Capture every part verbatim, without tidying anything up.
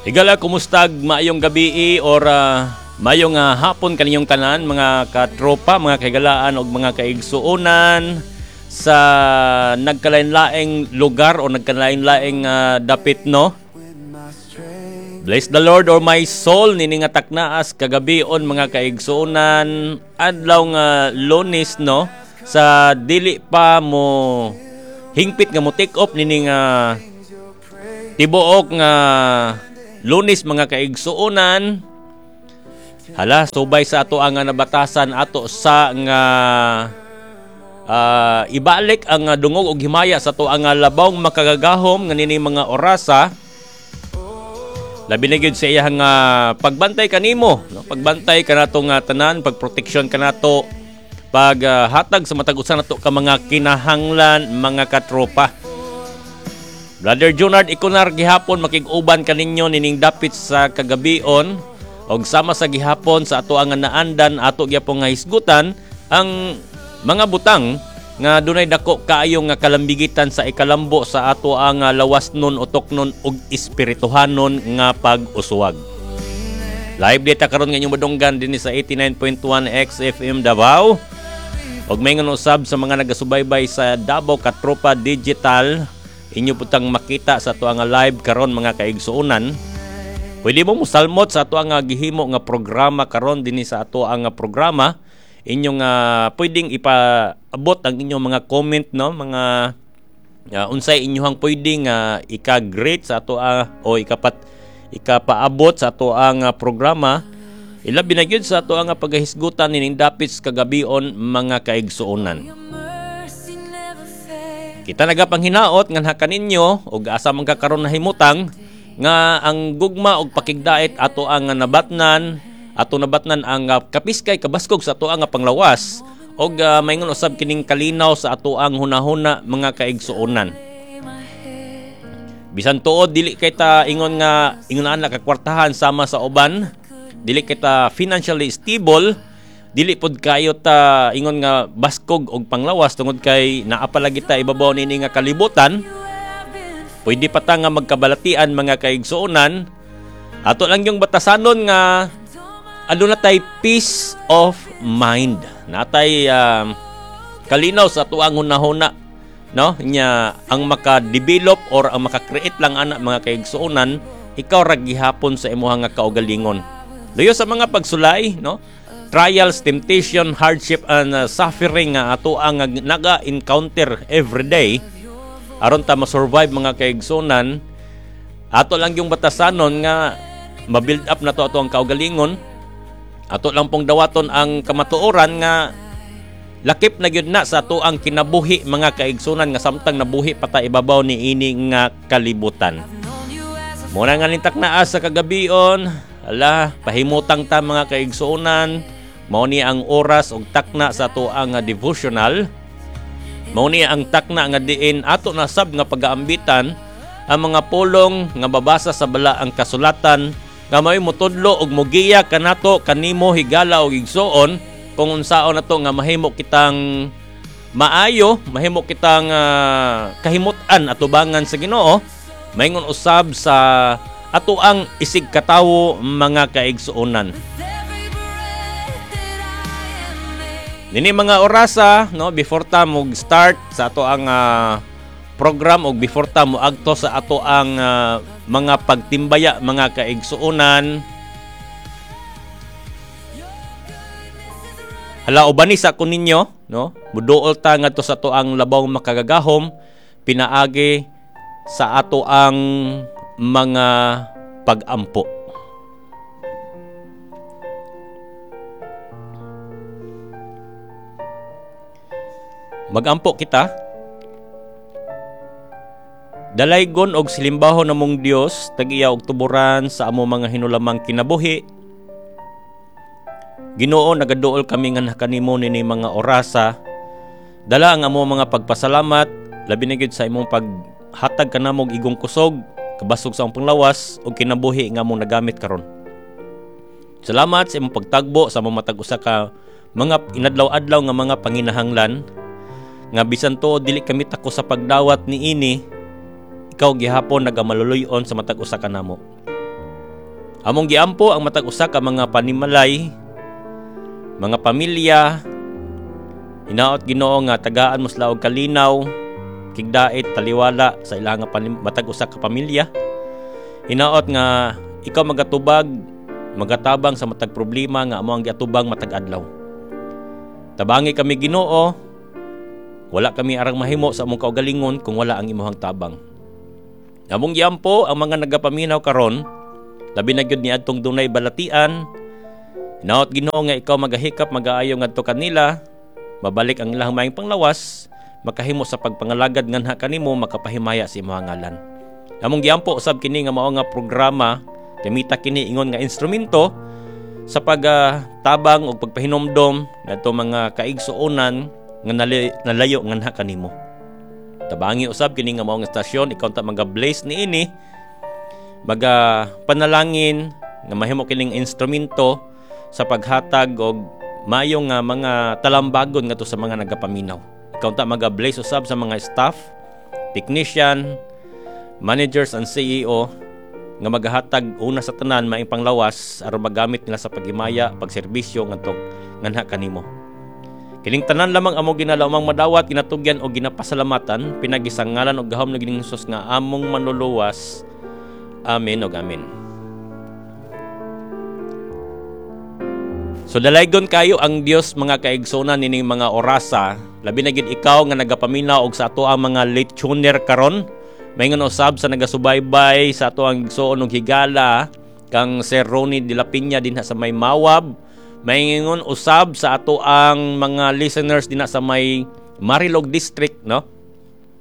Higala, kumustag maayong gabi or uh, maayong uh, hapon kaninyong tanan, mga katropa, mga kahigalaan og mga kaigsuonan sa nagkalain-laing lugar o nagkalain-laing uh, dapit, no? Bless the Lord or my soul nini nga taknaas kagabion, mga kaigsuonan, adlaw nga Lunes, no, sa dili pa mo hingpit nga mo take off nini nga tibuok nga Lunes, mga kaigsuonan. Hala, subay sa ato ang nabatasan, ato sa nga uh, ibalik ang dungog og himaya sa ato ang labaw makagagahom nga nini mga orasa, labi na gyud sa iyang uh, pagbantay kanimo, no? Pagbantay kanato nga tanan, pagproteksyon kanato, paghatag uh, sa matag usa nato ka mga kinahanglan, mga katropa. Brother Junard Ikunar gihapon makig-uban kaninyo nining dapit sa kagabion, og sama sa gihapon sa ato ang naandan, ato gyapon nga hisgutan ang mga butang nga dunay dako kaayo nga kalambigitan sa ikalambo sa ato ang lawasnon, utoknon ug espirituhanon nga pag-uswag. Live data karon nga inyong madunggan dinhi sa eighty-nine point one X F M Davao. Og maingon usab sa mga nagasubaybay sa Davao Katropa Digital, inyo putang makita sa ato ang live karon, mga kaigsuonan. Pwede mo musalmot sa ato ang gihimo nga programa karon dinhi sa ato ang programa. Inyong uh, pwedeng ipaabot ang inyong mga comment, no, mga uh, unsay inyong pwedeng uh, ika-greet sa ato uh, o ikapat ikapaabot sa ato ang uh, programa, ilabi na gyud sa ato ang pagahisgutan nining dapit kagabion, mga kaigsuonan. Kita nagapanghinaot nga kaninyo og asa man ka karon nahimutang nga ang gugma og pakigdait ato ang nabatnan, ato nabatnan ang uh, kapiskay kabaskog sa ato ang panglawas og uh, maingon usab kining kalinaw sa ato ang hunahuna, mga kaigsuonan. Bisan tuod dili kay ta ingon nga ingon na kakwartahan sama sa uban, dili kita financially stable, dili pod kayo ta ingon nga baskog og panglawas tungod kay naa pa lagi ta ibabaw nini nga kalibutan. Pwede pa ta nga magkabalatian, mga kaigsuonan. Ato lang yung batasanon nga aduna tay peace of mind, natay um, kalinaw sa atuang hunahuna, no? Nya ang maka-develop or ang maka-create lang ana, mga kaigsuonan, ikaw ra gihapon sa imuha nga kaugalingon. Luyo sa mga pagsulay, no, trials, temptation, hardship and uh, suffering nga ato ang naga-encounter every day aron ta ma-survive, mga kaigsuonan, ato lang yung batasanon nga ma-build up na to ato ang kaugalingon. Ato lang pong dawaton ang kamatuoran nga lakip na gyud na sa ato ang kinabuhi, mga kaigsunan, nga samtang nabuhi pa ta ibabaw ni ini nga kalibutan. Muna nga nintak naa sa kagabion, ala, pahimutang ta, mga kaigsuonan, mao ni ang oras og takna sa ato ang devotional. Mao ni ang takna nga diin ato na sab nga pagaambitan ang mga pulong nga babasa sa balaang kasulatan nga may motudlo og mogiya kanato, kanimo, higala og igsuon, kung unsaon nato nga mahimo kitang maayo, mahimo kitang uh, kahimut-an atubangan sa Ginoo, maingon usab sa ato ang isig katawo, mga kaigsuonan. Nini mga orasa, no, before ta mo start sa ato ang uh, program og before ta mo agto sa ato ang uh, mga pagtimbaya, mga kaigsuonan, hala, ubani sa ko ninyo, no, muduol ta ngadto sa ato ang labaw makagagahom pinaagi sa ato ang mga pagampo. Magampo kita. Dalaygon og silimbahon namong Dios, tag-iya og tuburan sa amo mga hinulamang kinabuhi. Ginoo, nagaduol kami nga kanimo nini mga orasa. Dala ang amo mga pagpasalamat, labi na gyud sa imong paghatag kanamo og igong kusog, kabasog sa among panglawas ug kinabuhi nga among nagamit karon. Salamat sa imong pagtagbo sa among matag usa ka mga inadlaw-adlaw nga mga panginahanglan nga bisan tuod dili kami tako sa pagdawat niini, ikaw gihapon nagamaluluy-on sa matag usa kanamo. Among giampo ang matag usa ka mga panimalay, mga pamilya. Hinaot, Ginoo, nga tagaan mo sila og kalinaw, kigdait, taliwala sa ilang nga matag usa ka pamilya. Hinaot nga ikaw magatubag, magatabang sa matag problema nga amo ang giatubang matag adlaw. Tabangi kami, Ginoo. Wala kami arang mahimo sa among kaugalingon kung wala ang imuhang tabang. Among giampo ang mga nagapaminaw karon, labi na gyud niadtong dunay balatian. Hinaot, Ginoo, nga ikaw magahikap, magaayo ngadto kanila, mabalik ang ilang maayong panglawas, makahimo sa pagpangalagad nganha kanimo, makapahimaya sa imong ngalan. Among giampo usab kini nga mao nga programa, gamita kini ingon nga instrumento sa pagtabang og pagpahinomdom ngadto mga kaigsuonan nga nalayo nganha kanimo. Tabangi usab kini nga mao nga estasyon, ikaw ta maga-bless niini, maga panalangin nga mahimo kining instrumento sa paghatag og maayo nga mga talambagon ngadto sa mga nagapaminaw. Ikaw ta maga-bless usab sa mga staff, technician, managers and C E O nga magahatag una sa tanan maayong panglawas aron magamit nila sa paghimaya, pagserbisyo ngadto nganha kanimo. Kining tanan lamang amo ginalaumang madawat, ginatugyan o ginapasalamatan pinagi sa ngalan og gahom ng Ginoong Hesus nga among Manluluwas. Amen ug amen. So dalaygon kayo ang Dios, mga kaigsunan, nining mga orasa, labi na gid ikaw nga nagapaminaw og sa ato ang mga late tuner karon. Maingon usab sa nagasubaybay sa ato ang igsuon og higala kang Sir Ronnie de la Peña dinha sa may Mawab. Maingon usab sa ato ang mga listeners dinha sa may Marilog District, no?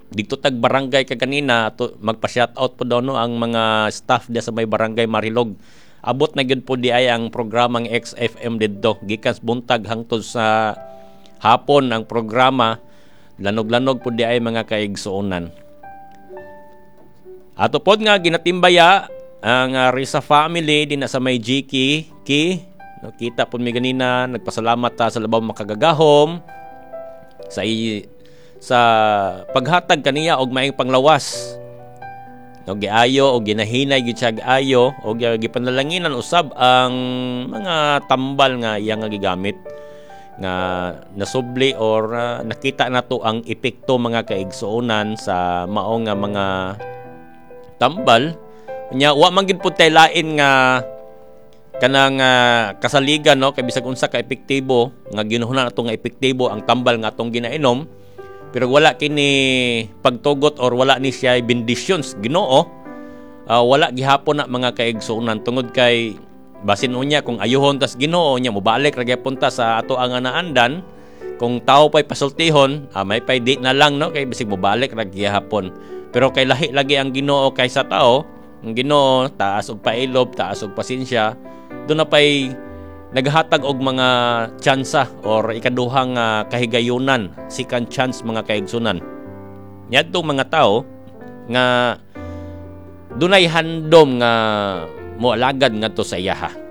Dito tag barangay ka kanina ato magpa-shout out po daw, no, ang mga staff diya sa may barangay Marilog. Abot na gyud po di ay ang programang X F M didto. Gikan buntag hangtod sa hapon ang programa. Lanog-lanog po di ay, mga kaigsuonan. Ato pod nga ginatimbaya ang uh, Risa family din sa may G K Ki, no, kita pod mi ganina, nagpasalamat ta sa Labaw Makagagahom sa i, sa paghatag kaniya og maayong panglawas, no, giayo og ginahinay gid siya ayo og gipanalanginan usab ang mga tambal nga iya nga gigamit nga nasubli or uh, nakita nato ang epekto, mga kaigsuonan, sa mao nga mga tambal nya. Wa man gid pud tay lain nga kanang uh, kasaligan, no, kay bisag unsa ka epektibo nga ginuhuna nato nga epektibo ang tambal nga atong ginainom, pero wala kini pagtugot or wala ni siya bendisyon sa Ginoo, uh, wala gihapon na, mga kaigsuonan, tungod kay basin unya kung ayuhon tas Ginoo nya mobalik ra gyapon ta sa ato ang naandan. Kung tao pa'y pasultihon, ah, may pay di na lang, no, kay bisig mobalik ra gihapon. Pero kay lahi lagi ang Ginoo kaysa tao. Ang Ginoo taas og pailob, taas og pasensya, doon na pay naghatag og mga tsansa or ikaduhang uh, kahigayunan, second chance, mga kaigsunan. Niadtong mga tao nga dunay handom nga moalagad ngadto sa iyaha.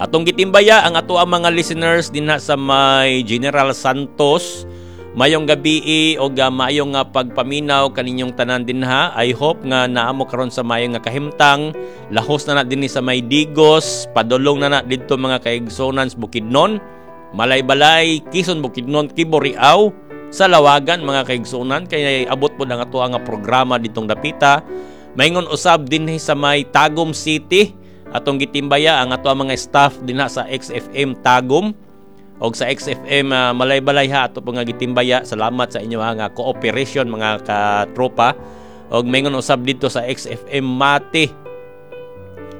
Atong gitimbaya ang ato ang mga listeners dinha sa may General Santos. Mayong gabi o uh, maayong nga pagpaminaw kaninyong tanan dinha. I hope nga naamo karon sa maayong nga kahimtang. Lahos na na dinhi sa may Digos, padulong na na didto, mga kaigsunan, sa Bukidnon, Malaybalay, Quezon, Bukidnon, Kiburiao, sa Lawagan, mga kaigsunan, kay abot po ang ato nga programa ditong dapita. Maingon usab dinhi sa may Tagum City. Atong gitimbaya ang ato ang mga staff dinha sa X F M Tagum og sa X F M uh, Malaybalay ha, ato po nga gitimbaya. Salamat sa inyo nga cooperation, mga katropa. Og maingon usab dito sa X F M Mati,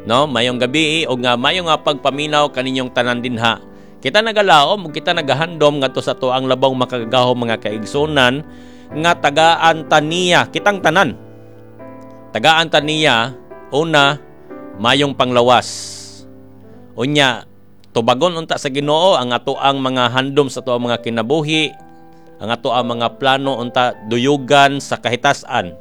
no, mayong gabi og nga maayong nga pagpaminaw kaninyong tanan dinha. Kita nagalaom ug kita nagahandom ngadto sa ato ang Labaw Makagagahom, mga kaigsunan, nga tagaan taniya kitang tanan, tagaan taniya una mayong panglawas. Unya tubagon unta sa Ginoo ang ato ang mga handom sa ato ang mga kinabuhi, ang ato ang mga plano unta duyugan sa kahitasan.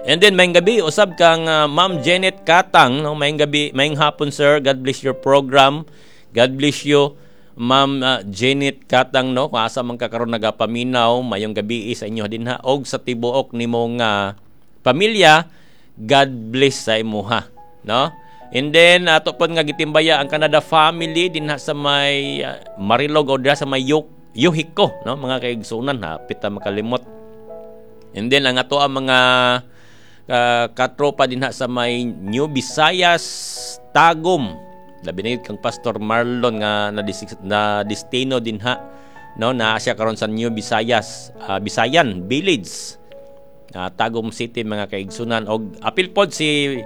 And then maayong gabi usab kang uh, Ma'am Janet Katang, no, maayong gabi, maayong hapon, sir. God bless your program. God bless you, Ma'am uh, Janet Katang, no, kung asa man ka karon nagapaminaw, mayong gabi sa inyo dinha og sa tibuok nimong uh, pamilya. God bless sa imuha, no? And then ato pod nga gitimbaya ang Canada family dinha sa may uh, Marilog o dinha sa may Yuk Yuhiko, no, mga kaigsunan, hapit ta makalimot. And then ang ato ang mga uh, katropa dinha sa may New Visayas, Tagum, labi na kang Pastor Marlon nga na, na destino dinha, no, naa siya karon sa New Visayas, uh, Bisayan Village, uh, Tagum City, mga kaigsunan. Og apil pod si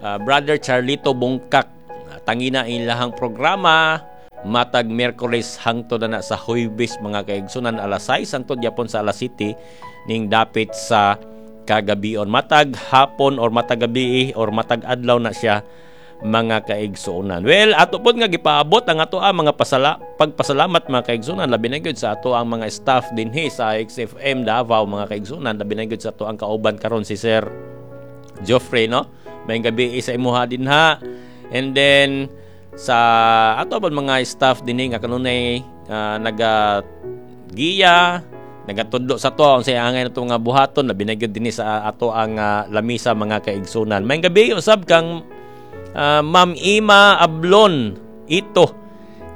uh, Brother Charlito Bungkak, uh, tangina ilahang programa matag Miyerkules hangtod na sa Huwebes, mga kaigsunan, alas sais hangtod gyapon sa alas siyete ning dapit sa kagabion, matag hapon or matag gabi or matag adlaw na siya, mga kaigsuonan. Well, ato pod nga gipaabot ang ato ang mga pasala pagpasalamat, mga kaigsuonan, labi na gyud sa ato ang mga staff dinhi sa X F M Davao, mga kaigsuonan, labi na gyud sa ato ang kauban karon, si Sir Geoffrey, no. Maayong gabi sa imuha dinha. And then sa ato pod mga staff dinhi nga kanunay uh, naga giya, nagatudlo sa ato unsay angay nato nga buhaton, labi na gyud dinhi sa ato ang uh, lamisa, mga kaigsunan. Maayong gabi usab kang uh, Ma'am Ima Ablon ito.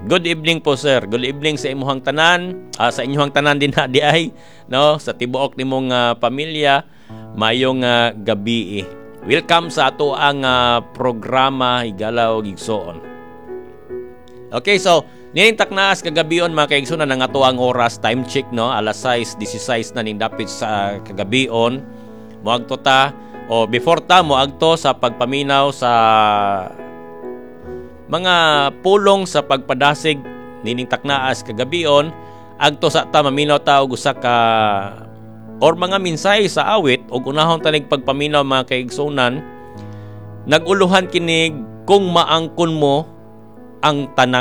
Good evening po, sir. Good evening sa imuhang tanan, uh, sa inyong tanan din di ay, no, sa tibuok nimong uh, pamilya. Mayong uh, gabi. Welcome sa ato ang uh, programa Higala og Igsoon. Okay, so nining taknaas kagabion, mga kaigsunan, ang ato ang oras, time check, no, alas sais sasayis na ning dapit sa kagabion. Moagto ta o before ta moagto sa pagpaminaw sa mga pulong sa pagpadasig nining taknaas kagabion, agto sa ta maminaw ta og usa ka or mga mensahe sa awit og unahon tanig pagpaminaw, mga kaigsunan. Nag-uluhan kinig "Kung Maangkon Mo ang Tanang